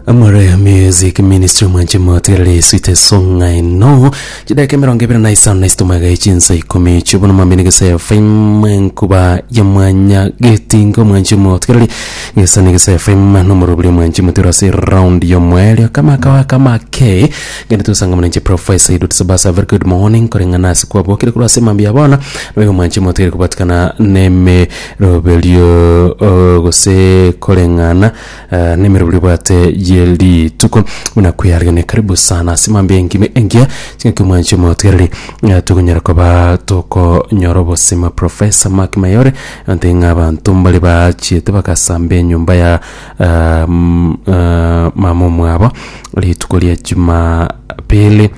Amore Music Ministry mwanche moterere sweet song I know chidakika emerongo ebere na isano na isito magega chinsa ikomi chiobona mwamini gese FM enkuba ya mwanya getinga mwanche moterere gesa ni gese FM nomorobiri mwanche moterere ase round ya omwerio kama kawa kama ke gende tusanga mwanche Professor Edward Sabasa very good morning koreng'ana ase kwabokire korwa ase mambia ya bono naboigo mwanche moterere kobatikana nemeroberio oh, gose koreng'ana Eh, nemerobori obwate ye rituko buna kwearigania karibu sana ase mambia engime engiya chingaki omwanchi omotigereri eh, tokonyara koba tokonyora obosima professor Mark Mayore ante ng'a abanto mbare bachiete bagasamba enyomba ya ah, mm, ah, mama omwabo rituko ria jumapili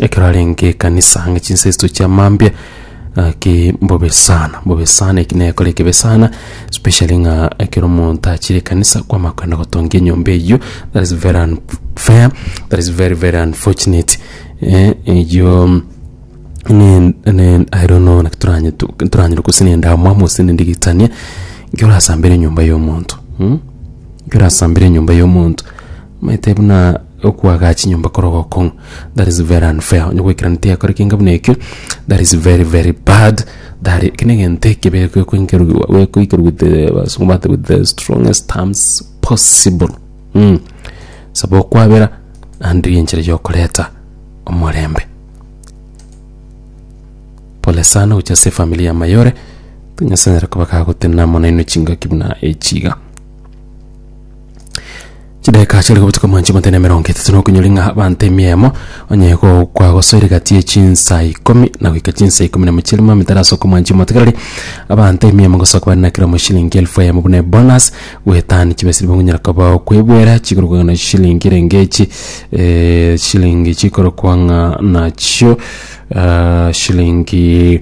ekero arenge ekanisa ang'e chinsa isatu chia mambia Gaki mbobe sana, mbobe sana eki nekore ekebe sana, especially ng'a ekero omonto achire ekanisa kwamanya kogenda gotongia enyomba eywo, that is very unfair, that is very very unfortunate eh, eywo ne ne I don't know naki toranye toranyore gose na endamwamu gose na endigitania, ekero orasambere enyomba ya omonto mh, ekero orasambere enyomba ya omonto, omanyete buna. Okoagacha chinyomba korwa ogokong'u that is very unfair onye goikerana tiyakora ekenga buna ekio that is very very bad that eki negento ekebe gekoinkerwa gekoikerwa with the abasongo bagoteba with the strongest terms possible mh. Saba okwabera naende rigia enchera ya okoreta omorembe. Pole sana gochia ase efamiri ya Mayore, Nyasaye anyare koba kagotenena amo nainwe chingaki buna echi iga. Chidakika chiare gobutuka mwanchi omote na emerongo etato na okonyora ng'a abanto emiemo onye kwagosoire gati ye chinsa ikomi na goika chinsa ikomi na mochie rimo emetarasoka omwanchi omotegereri abanto emiemo gosoka bare na kera omo shilingi elfu eyemo buna ebonus goetania chibesa riria okonyara koba okoebwera chikorokwa ng'a shilingi erenge echi shilingi chikorokwa ng'a nachio shilingi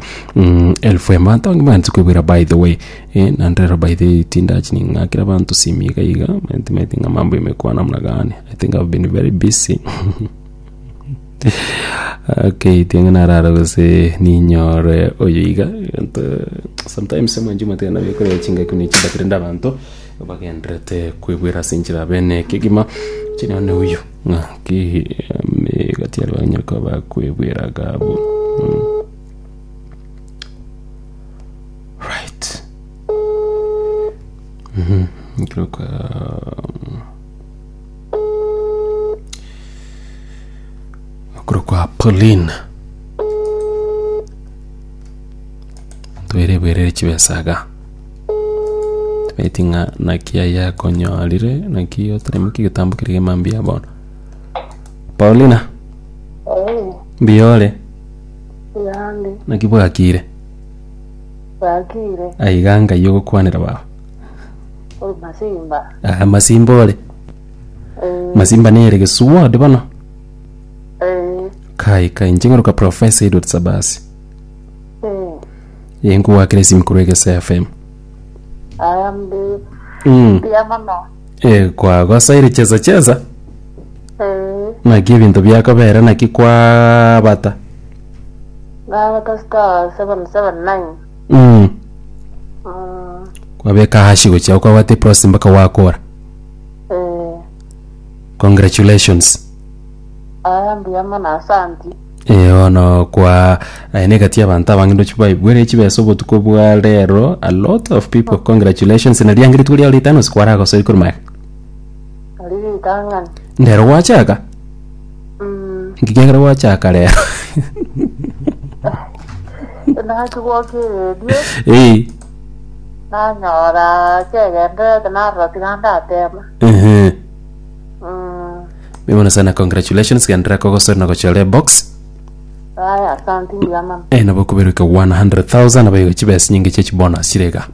elfu eyemo abanto abange mbaanchete koebwera by the way. Eh, naende rero by the way tindachi ning'akere abanto simu iga iga, timanyeti ng'a mambo imekuwa namna gani, I think I've been very busy okay tiang'e narara gose ninyore oyo iga egento sometimes omwanchi omotebe nabo ekoreta chingaki buna echi but rende abanto bagendererete koigwera ase enchera bene kegima inche none oyo ng'aki gati aria banyare koba bakoigwera iga abwo. Right. Mhm. Nkiroka okorokwa Pauline. Twere bwerere chibesa iga. Timaeti ng'a naki aye akonyorire, naki oteremeke egetambo keria kia mambia bono. Paulina, Eh, mbuya ore? Yande, Naki bwakire? bwakire, Aiga ngai ogokwanera baba. ore masimba. Ah, masimba ore. Eh, Masimba nere gesuwa ode bono. eh, Kai kai inche ng'oroka Professor Edward Sabasi. eh, Ye nkogwakera esimi korwa Egesa FM. aya mbi, Mm. mbuya mono. Eh, kwagosaire chesa chesa. Eh, Naki ebinto biakobera naki kwabata. nabata star 779. Mm. Mm, Kwabeka hashi gochia kwabata eprocess mpaka wakora. eh, Congratulations. aya mbuya mono asanti. Eh, bono kwa aye negati y'abanto abange ndoche baigwere chibesa obotuko bwa rero a lot of people congratulations na riange rituko riao ritano ase kwaragosoire korwa magega Ari ritang'ani. ndero gwachaka Mm, nki kiagera gwachaka rero naki gwoka eredio Eh, nanyora kegenderete narora tiga ndatema. ehe. Mm, Mimono sana congratulations genderera kogosori na gochora ebox aya asanti mbuya mono. eh nabo koberuka 100,000 abayiga chibesa nyinge chia chibonus chire iga.